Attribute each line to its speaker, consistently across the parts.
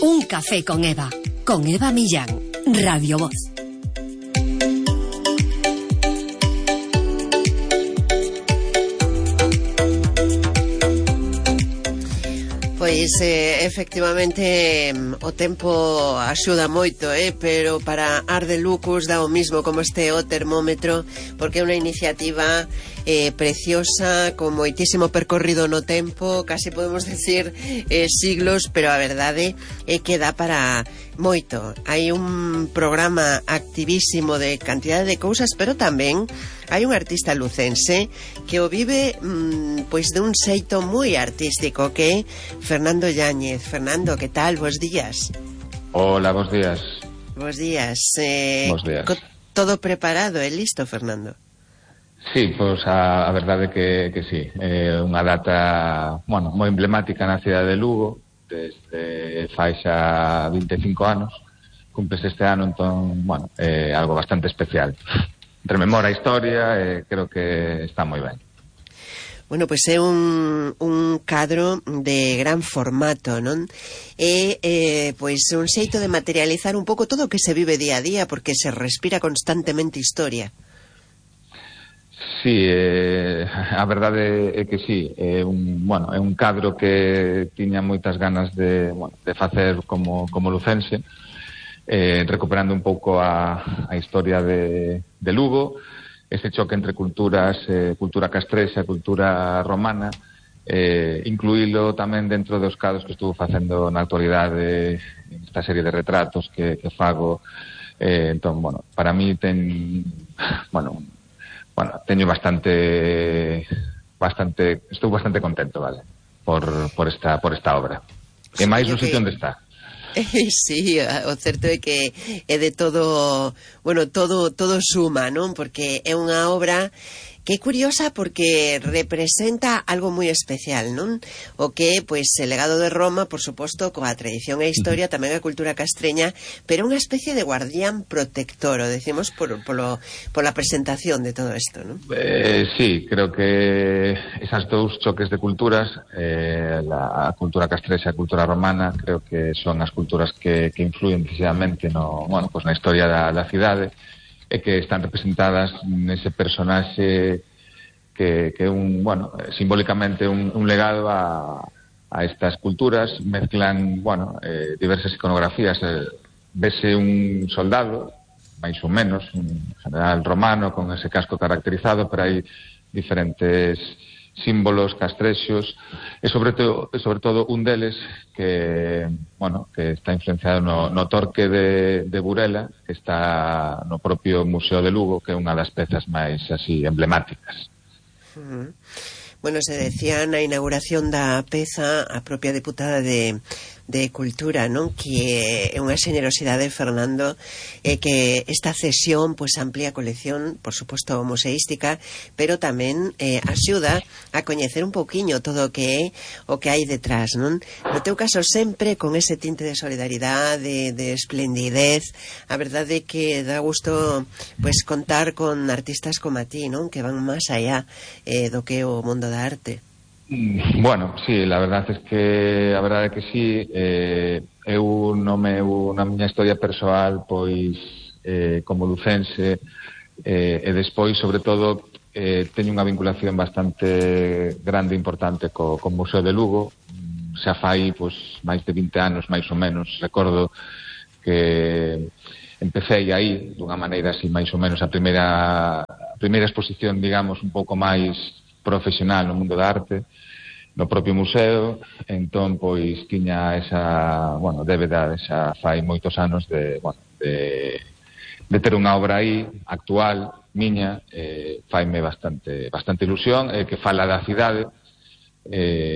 Speaker 1: Un café con Eva Millán, Radio Voz.
Speaker 2: Pois, efectivamente, o tempo axuda moito, pero para Arde Lucus dá o mismo como este o termómetro, porque é unha iniciativa preciosa, con moitísimo percorrido no tempo, casi podemos decir siglos, pero a verdade é que dá para moito. Hai un programa activísimo de cantidade de cousas, pero tamén hai un artista lucense que o vive pois de un xeito moi artístico, que é Fernando Yáñez. Fernando, que tal? Bos días.
Speaker 3: Hola, bos días.
Speaker 2: Bos días.
Speaker 3: Bos días.
Speaker 2: Todo preparado e listo, Fernando?
Speaker 3: Sí, pois a verdade que sí. Unha data, bueno, moi emblemática na cidade de Lugo, desde fai xa 25 anos. Cumples este ano, entón, bueno, algo bastante especial. Rememora a historia e creo que está moi ben.
Speaker 2: Bueno, pois é un cadro de gran formato, non? É, pois, un xeito de materializar un pouco todo o que se vive día a día, porque se respira constantemente historia.
Speaker 3: Sí, a verdade é que sí, é un cadro que tiña moitas ganas de facer como lucense, recuperando un pouco a historia de Lugo, ese choque entre culturas, cultura castrexa, cultura romana, incluílo tamén dentro dos cadros que estuvo facendo na actualidade, esta serie de retratos que fago. Entón, para mí teño estou bastante contento, vale, por esta obra. E máis no sitio onde está.
Speaker 2: Sí, o certo é que é de todo, bueno, todo suma, non? Porque é unha obra que é curiosa porque representa algo moi especial, non? O que, pois, o legado de Roma, por suposto, coa tradición e historia, tamén a cultura castreña, pero unha especie de guardián protector, o decimos pola presentación de todo isto, non?
Speaker 3: Sí, creo que esas dous choques de culturas, a cultura castrexa e a cultura romana, creo que son as culturas que influyen decisivamente na historia da cidade, e que están representadas nese personaxe que é simbólicamente un legado a estas culturas. Mezclan, diversas iconografías. Vese un soldado, máis ou menos, un general romano con ese casco caracterizado, pero hai diferentes símbolos castrexos e sobre todo un deles que está influenciado no torque de Burela, que está no propio Museo de Lugo, que é unha das pezas máis así emblemáticas.
Speaker 2: Bueno, se decía na inauguración da peza a propia deputada de Cultura, non? Que é unha xenerosidade, Fernando, que esta cesión pois amplía a colección, por suposto, museística, pero tamén axuda a coñecer un pouquiño todo o que hai detrás, non? No teu caso, sempre con ese tinte de solidaridade, de esplendidez. A verdade é que dá gusto pois contar con artistas como a ti, non? Que van máis allá do que o mundo da arte.
Speaker 3: Bueno, sí, la verdade é que sí. Eu na miña historia persoal, pois como lucense, e despois, sobre todo, teño unha vinculación bastante grande e importante co Museo de Lugo. Xa fai máis de 20 anos, máis ou menos. Recordo que empecé aí dunha maneira así, máis ou menos, a primeira exposición, digamos, un pouco máis profesional no mundo da arte, no propio museo. Entón, pois, tiña esa, débeda, xa fai moitos anos de ter unha obra aí, actual, miña, faime bastante ilusión, que fala da cidade.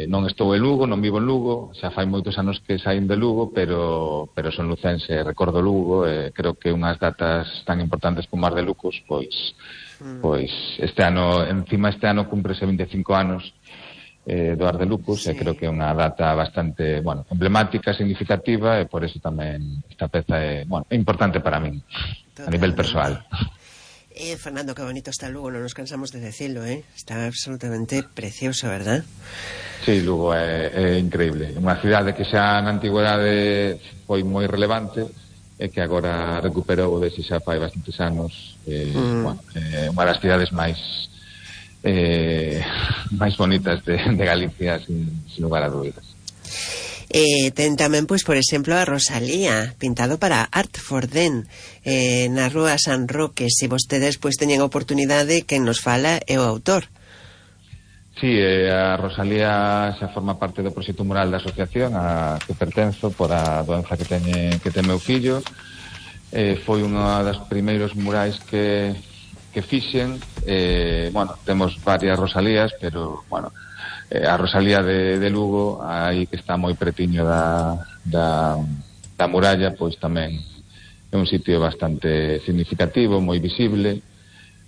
Speaker 3: Non estou en Lugo, non vivo en Lugo, xa fai moitos anos que saín de Lugo, pero son lucense, recordo Lugo, creo que unhas datas tan importantes como Arde Lucus, pois este ano cúmprese 25 anos do Arde Lucus, e creo que é unha data bastante, emblemática, significativa, e por eso tamén esta peza é importante para min, a nivel persoal.
Speaker 2: Fernando, qué bonito está Lugo, non nos cansamos de decirlo, está absolutamente precioso, verdad?
Speaker 3: Sí, Lugo é increíble. Unha cidade que xa na antigüedade foi moi relevante e que agora recuperou desde xa fai bastantes anos. Bueno, unha das cidades máis bonitas de Galicia, sin lugar a dúbidas.
Speaker 2: Ten tamén, pois, por exemplo, a Rosalía, pintado para Art for Den, na Rúa San Roque. Se vostedes, pois, teñen oportunidade, quen nos fala é o autor.
Speaker 3: Sí, a Rosalía xa forma parte do proxecto mural da asociación a que pertenzo por a doenza que ten meu fillo. Foi unha das primeiros murais que fixen. Bueno, temos varias Rosalías, pero, bueno, a Rosalía de Lugo, aí que está moi pretiño da muralla, pois tamén é un sitio bastante significativo, moi visible,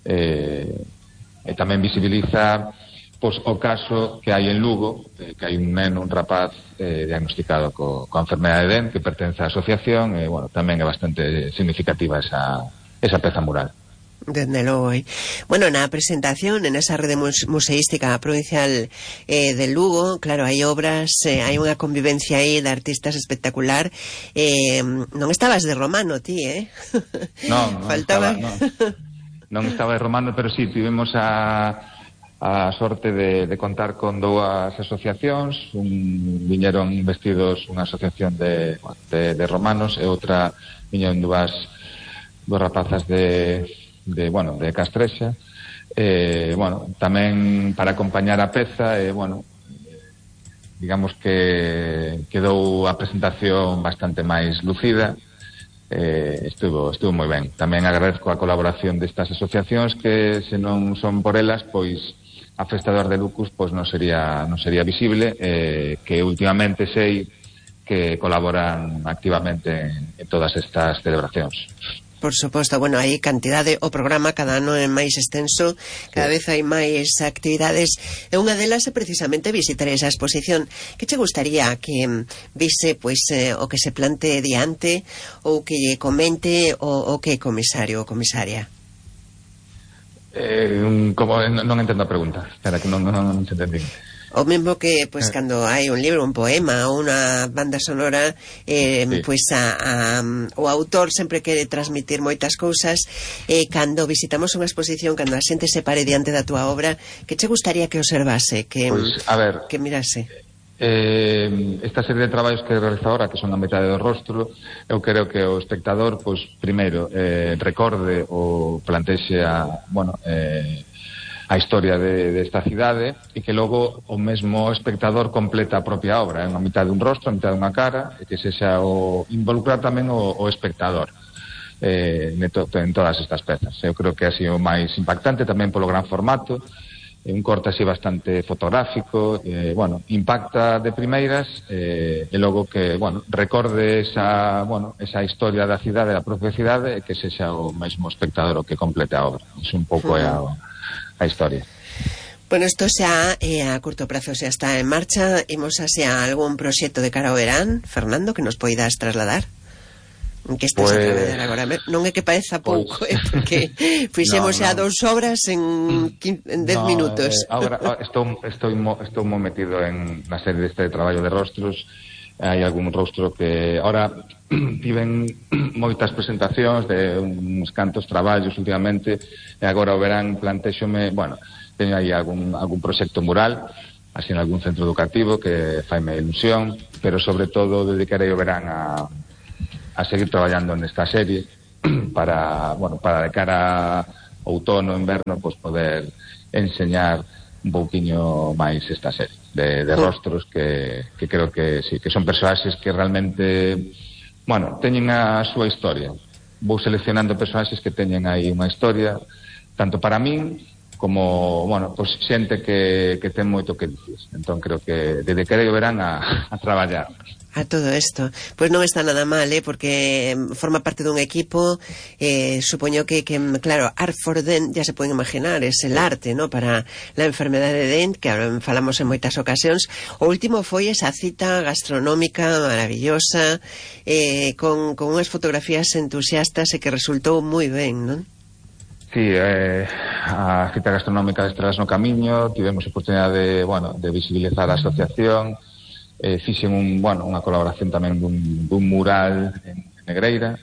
Speaker 3: e tamén visibiliza pois o caso que hai en Lugo, que hai un neno, un rapaz diagnosticado coa enfermedade de DEN, que pertence á asociación, e, bueno, tamén é bastante significativa esa peza mural.
Speaker 2: Desde logo, Bueno, na presentación, en esa rede museística provincial de Lugo, claro, hai obras, hai unha convivencia aí de artistas espectacular. Non estabas de romano, ti,
Speaker 3: Non,
Speaker 2: faltaba...
Speaker 3: non estaba de romano, pero sí, tivemos a sorte de contar con dúas asociacións. Viñeron vestidos unha asociación de romanos e outra viñeron dúas rapazas de Castrexa, bueno, tamén para acompañar a peza, bueno, digamos que quedou a presentación bastante máis lucida. Estuvo moi ben. Tamén agradezco a colaboración destas asociacións, que se non son por elas, pois a Festa do Ardelucus pois non sería visible, que últimamente sei que colaboran activamente en todas estas celebracións.
Speaker 2: Por suposto, bueno, hai cantidade, o programa cada ano é máis extenso, cada vez hai máis actividades, e unha delas é precisamente visitar esa exposición. Que che gustaría que vise, pois, o que se plante diante, ou que lle comente o que comisario ou comisaria?
Speaker 3: Non entendo a pregunta, espera, que non entendí.
Speaker 2: O mesmo que, pois, cando hai un libro, un poema ou unha banda sonora, pois o autor sempre quere transmitir moitas cousas, cando visitamos unha exposición, cando a xente se pare diante da túa obra, que che gustaría que observase, que mirase?
Speaker 3: Esta serie de traballos que realiza ahora, que son a metade do rostro, eu creo que o espectador, pois, primeiro, recorde ou plantexe a historia desta cidade, e que logo o mesmo espectador completa a propia obra, a mitad dun rostro, a mitad dunha cara, e que sexa involucrar tamén o espectador en todas estas pezas. Eu creo que ha sido máis impactante tamén polo gran formato, un corte así bastante fotográfico, bueno, impacta de primeiras, e logo que, bueno, recorde esa historia da cidade, da propia cidade, e que sexa o mesmo espectador o que complete a obra. Iso un pouco é a historia.
Speaker 2: Bueno, isto xa a curto prazo xa está en marcha. Imos hacia algún proxecto de cara ao verán, Fernando, que nos poidas trasladar? En que estás a traballar agora? Non é que pareza pouco, porque fixemos xa 2 obras en 10 minutos.
Speaker 3: Agora estou moi metido na serie deste traballo de rostros. Hai algún rostro que ahora tiven moitas presentacións de uns cantos traballos últimamente, e agora o verán plantexome, bueno, teño aí algún proxecto mural así en algún centro educativo que faime ilusión, pero sobre todo dedicarei o verán a seguir traballando nesta serie para de cara a outono, inverno, pues poder enseñar un pouquiño máis esta serie de rostros que creo que sí, que son personaxes que realmente, bueno, teñen a súa historia. Vou seleccionando personaxes que teñen aí unha historia, tanto para min como, bueno, pues xente que ten moito que dicir. Entón creo que dedicarei o verán a traballar
Speaker 2: a todo isto. Pois non está nada mal, porque forma parte dun equipo, supoño que claro, Art for Den, ya se poden imaginar, es el arte, ¿no?, para la enfermedade de DEN, que ahora falamos en moitas ocasións. O último foi esa cita gastronómica maravillosa, con unhas fotografías entusiastas, e que resultou moi ben, non?
Speaker 3: Sí, a cita gastronómica de Estrelas no Camiño, tivemos a oportunidade de visibilizar a asociación, fixen unha colaboración tamén dun mural en Negreira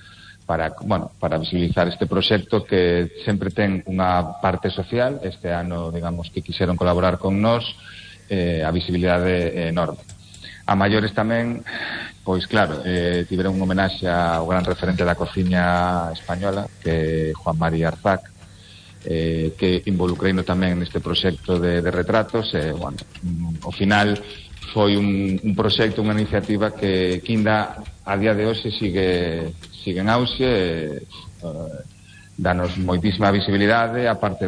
Speaker 3: para visibilizar este proxecto que sempre ten unha parte social. Este ano, digamos, que quixeron colaborar con nós, a visibilidade enorme. A maiores tamén, pois claro, tiveron un homenaxe ao gran referente da cociña española, que é Juan María Arzac, que involucreino tamén neste proxecto de retratos, ao final foi un proxecto, unha iniciativa que ainda a día de hoxe sigue en auxe, danos moitísima visibilidade, aparte,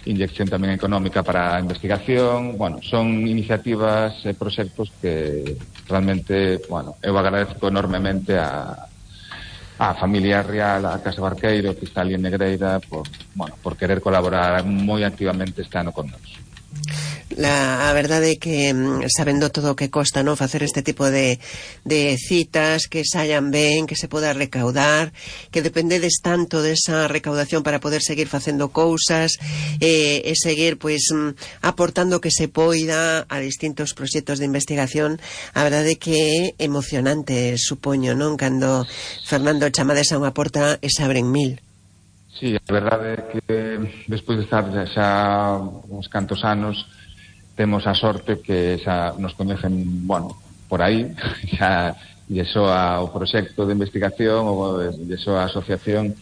Speaker 3: inyección tamén económica para a investigación. Son iniciativas e proxectos que realmente, eu agradezco enormemente a familia real, a Casa Barqueiro, que está ali en Negreira, por querer colaborar moi activamente este ano con nós.
Speaker 2: A verdade é que sabendo todo o que costa, non, facer este tipo de citas, que saian ben, que se poda recaudar, que dependedes tanto desa recaudación para poder seguir facendo cousas e seguir aportando que se poida a distintos proxectos de investigación. A verdade é que é emocionante, supoño, non, cando Fernando chamades a unha porta e se abren 1000.
Speaker 3: Sí, a verdade é que despois de estar xa uns cantos anos, temos a sorte que xa nos coñecen, por aí, xa lle soa o proxecto de investigación ou lle soa a asociación,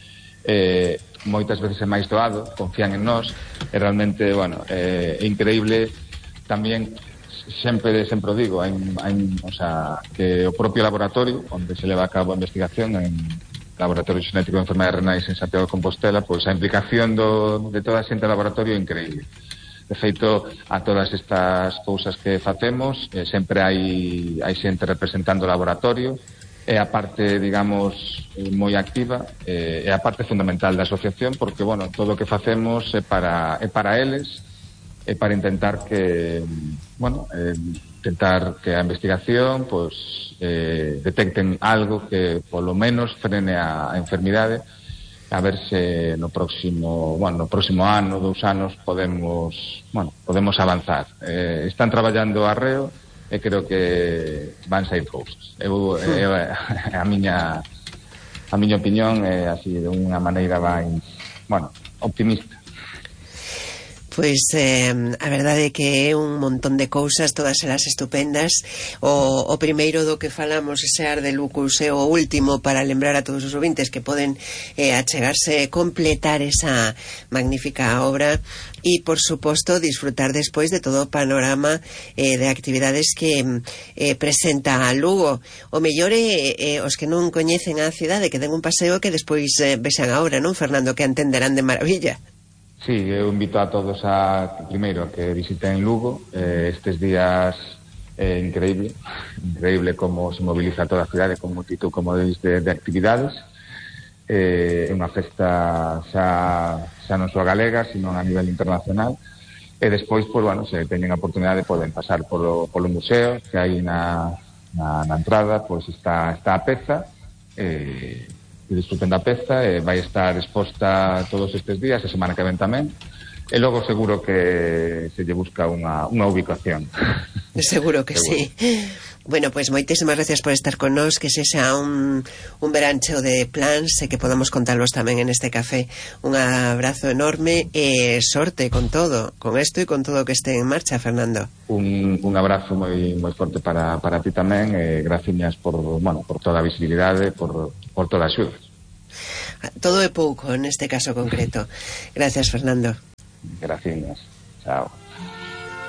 Speaker 3: moitas veces é máis doado, confían en nós, e realmente, é increíble tamén, sempre o digo, que o propio laboratorio, onde se leva a cabo a investigación, en Laboratorio Xenético de Enfermedades Renais en Santiago de Compostela, pois a implicación de toda a xente do laboratorio é increíble. De feito, a todas estas cousas que facemos, sempre hai xente representando o laboratorio, é a parte, digamos, moi activa, é a parte fundamental da asociación, porque, todo o que facemos é para eles, é para intentar que, a investigación, detecten algo que, polo menos, frene a enfermidade, a ver se no próximo ano, 2 anos, podemos avanzar. Están traballando arreo e creo que van sair cousas. A miña opinión é así, de unha maneira máis, optimista.
Speaker 2: Pois a verdade é que é un montón de cousas, todas elas estupendas. O primeiro do que falamos, ese Arde Lucus, é o último para lembrar a todos os ouvintes que poden achegarse, completar esa magnífica obra e, por suposto, disfrutar despois de todo o panorama de actividades que presenta a Lugo. O mellor é os que non coñecen a cidade, que den un paseo, que despois vexan a obra, non, Fernando, que entenderán de maravilla.
Speaker 3: Sí, eu invito a todos primeiro a que visiten Lugo. Estes días é increíble como se moviliza toda a cidade con multitud, como de actividades. É unha festa xa non só galega, sino a nivel internacional. E despois, se teñen a oportunidade, poden pasar polo museo, que hai na entrada, está a peza, e disfruten da peza, e vai estar exposta todos estes días, a semana que ven tamén, e logo seguro que se lle busca unha ubicación.
Speaker 2: Seguro que sí. Bueno, pois moitísimas gracias por estar con nós, que sexa un verán cheo de plans e que podamos contarlos tamén en este café. Un abrazo enorme e sorte con todo, con isto e con todo o que este en marcha, Fernando.
Speaker 3: Un abrazo moi forte para ti tamén, e gracias por toda a visibilidade, por toda a axuda.
Speaker 2: Todo é pouco neste caso concreto. Gracias, Fernando.
Speaker 3: Gracias. Chao.